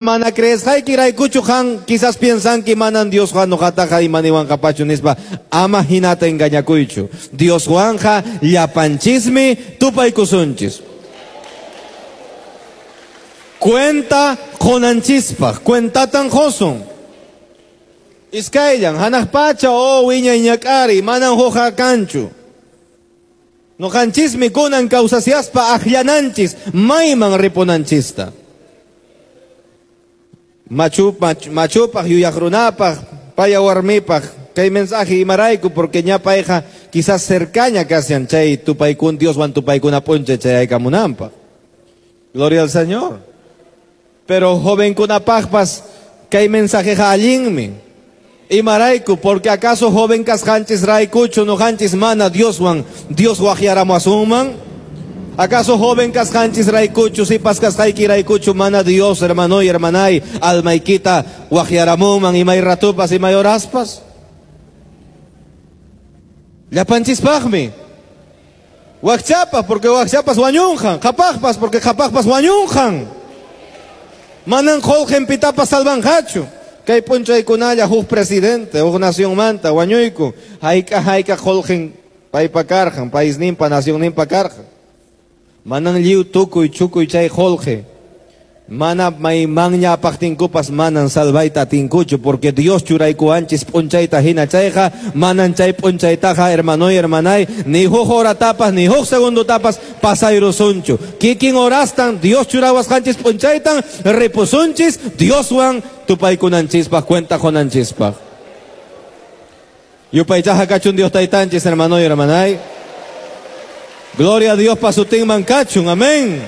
Mana creesqaykiraykuchu qan quizás piensanki manan Diosqa nuqataqa imaniwanqapachu nispa, ama hinata engañakuychu. Dioswanqa llapanchismi tupaykusunchis. Cuenta qunanchispaq, cuentatan qusun. Iskayllan, hanaq pacha o wiñay ñak'ariy, manan hukqa kanchu. Nuqanchismi kunan kawsasiaspa akllananchis mayman ripunanchista. Machupaq, yuyaq runapaq, paya warmipaq, kay mensaje imarayku, porque ña payqa quizás cercaña kashan chay tupaykun Dioswan tupaykuna p'unchay chayaykamunanpaq. Gloria al Señor. Pero jovenkunapaqpas kay mensajeqa allinmi. Imarayku, porque acaso joven kasqanchis raykuchu nuqanchis mana Dioswan Dios waqyaramuwasunman? ¿Acaso joven kasqanchis raykuchu, sipas kasqayki raykuchu mana Dios, hermano y hermanay, almaykita waqyaramunman imay ratupas, imay horaspas? Llapanchispaqmi. Wakchapas, porque wakchapas wañunqan, qhapaqpas, porque qhapaqpas wañunqan. Manan qullqin pitapas salvanqachu. Kay p'unchaykunalla huk presidente, huk nacionmanta wañuyku, hayk'a hayk'a qullqin paypa karqan, paisninpa, nacionninpa karqan. Manan lliw tukuy chukuy chay qullqi. Mana maymanña apaqtinkupas manan salvayta atinkuchu, porque Dios churaykuwanchis p'unchayta hina chayqa, manan chay p'unchaytaqa, hermanoy, hermanay, ni huk horatapas, ni huk segundotapas pasayrusunchu. Kikin horastan Dios churawasqanchis p'unchaytan ripusunchis Dioswan tupaykunanchispaq, cuenta qunanchispaq. Yupaychaqa kachun Dios taytanchis, hermanoy, hermanay. Gloria a Dios pa sutinman kachun, amén.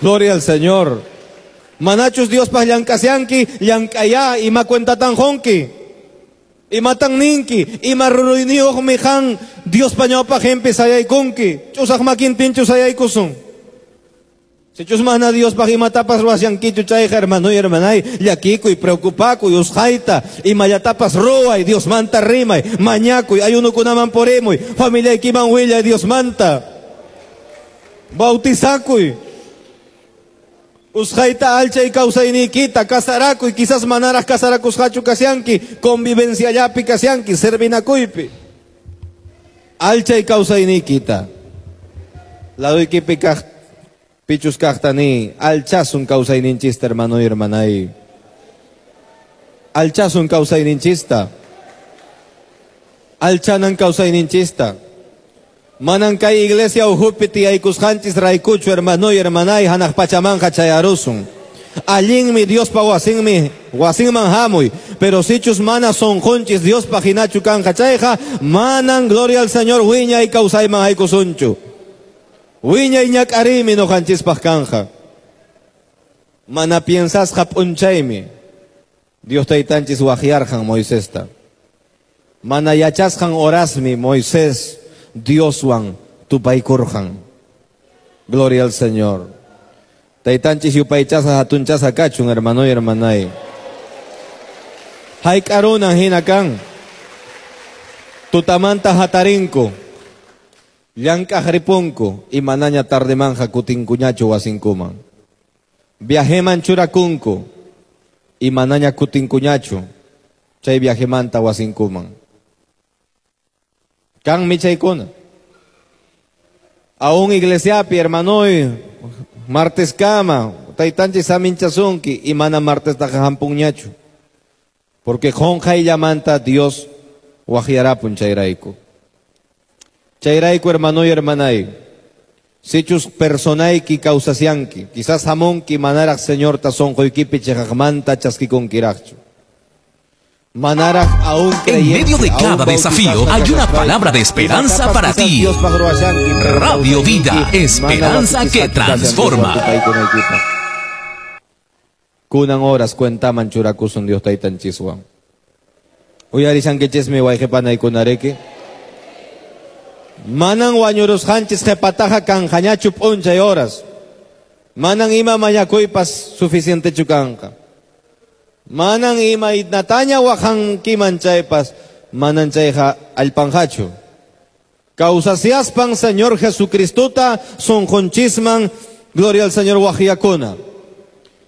Gloria al Señor. Manachus Dios pa llank'asyanki, llank'aya, ima cuentatan qunki. Imatan ninki, ima ruruyniyuqmi qan Diospa ñawpaqinpi sayaykunki. Ch'usaq makintinchu sayaykusun. Sichus mana Diospaq imatapas ruwasyankichu chayqa, hermano y hermanay, llakikuy, preocupakuy, usqhayta, imallatapas ruway, Diosmanta rimay, mañakuy, ayunukunaman purimuy, familiaykiman willay Diosmanta. Bautizakuy. Usqhayta alchay kawsayniykita, kasarakuy, quizás manaraq kasarakusqachu kasyanki, convivenciallapi kasyanki, servinakuypi. Alchay kawsayniykita. Laduykipi kaq pichus kaqtani, alchasun kawsayninchista, hermano y hermanay. Alchasun kawsayninchista. Alchanan kawsayninchista. Manan kay iglesia ukhupi tiyaykusqanchis raykuchu, hermano y hermanay, hanaq pachamanqa chayarusun. Allinmi Diospa wasinmi, wasinman hamuy, pero sichus mana sunqunchis Diospa hinachu kanqa chayqa, manan gloria al Señor wiñay kawsayman haykusunchu. Wiñay ñak'ariymi nuqanchispaq kanja. Mana piensasqa p'unchaymi Dios taytanchis waqyarqan Moisesta. Mana yachasqan horasmi Moisés Dioswan tupaykurqan. Gloria al Señor. Taytanchis yupaychasqa hatunchasqa kachun, hermano y hermanay. Hayk'arunan hina kan. Tutamanta hatarinku. Llank'aq ripunku y manaña tardemanja kutinkuñachu wasinkuman. Viajeman churakunku y manaña kutinkuñachu chay viajemanta wasinkuman. Kanmi chaykuna. Aún iglesiapi, hermanoy, martes kama, taytanchis saminchasunki y mana martes taqa hampunñachu. Porque qunqayllamanta Dios waqyarapun chayrayku. Chayrayku, hermano y hermanay, sichus personayki kawsasyanki, quizás hamunki manaraq Señorta sunquykipi chiqaqmanta chaskikunkiraqchu. Manaraq aún En medio de creyente, cada aún desafío bautizasqa hay una kashaspay, palabra de esperanza imatapas para quizás ti. Diospaq ruwashanki, pero Radio Vida, kawsayniyki mana esperanza que bautizasqa kashan Dioswan transforma. tupaykunaykipaq. Kunan horas cuentaman churakusun Dios taytanchiswan. Uyarishankichismi wayqipanaykunariki. Manan wañurusqanchis qhipataqa kanqañachu p'unchay horas. Manan ima mañakuypas suficientechu kanqa. Manan ima nataña waqankiman chaypas, manan chayqa allpanqachu. Kawsasiaspan Señor Jesucristota sunqunchisman, gloria al Señor waqyakuna.